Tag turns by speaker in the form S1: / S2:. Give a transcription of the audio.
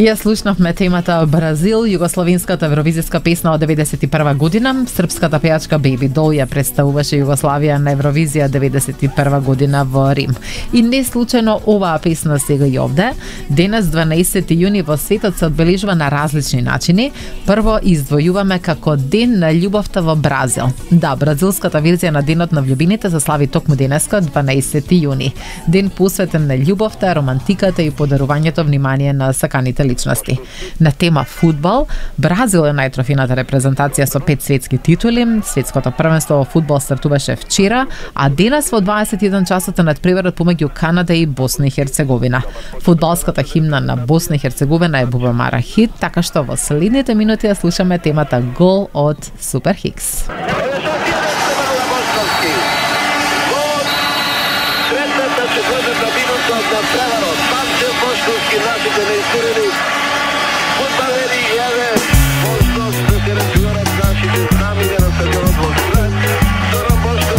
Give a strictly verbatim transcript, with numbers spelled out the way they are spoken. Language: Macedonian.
S1: Ја слушнавме темата Бразил, југословенската евровизиска песна од деветдесет и прва година. Српската пејачка Baby Doll ја представуваше Југославија на Евровизија деветдесет и прва година во Рим. И не случајно оваа песна сега и овде. Денес, дванаесети јуни, во светот се одбележува на различни начини. Прво издвојуваме како Ден на љубовта во Бразил. Да, бразилската верзија на Денот на влюбените се слави токму денеска, дванаесети јуни. Ден посветен на љубовта, романтиката и подарувањето внимание на саканите личности. На тема фудбал, Бразил е најтрофената репрезентација со пет светски титули. Светското првенство во фудбал стартуваше вчера, а денес во дваесет и еден часот е надпреварот помеѓу Канада и Босна и Херцеговина. Фудбалската химна на Босна и Херцеговина е Бубамара хит, така што во следните минути ја слушаме темата Гол од Супер Хикс.
S2: Третата четвртата минута на преварот. Панчев Бошковски нашите не изгорени.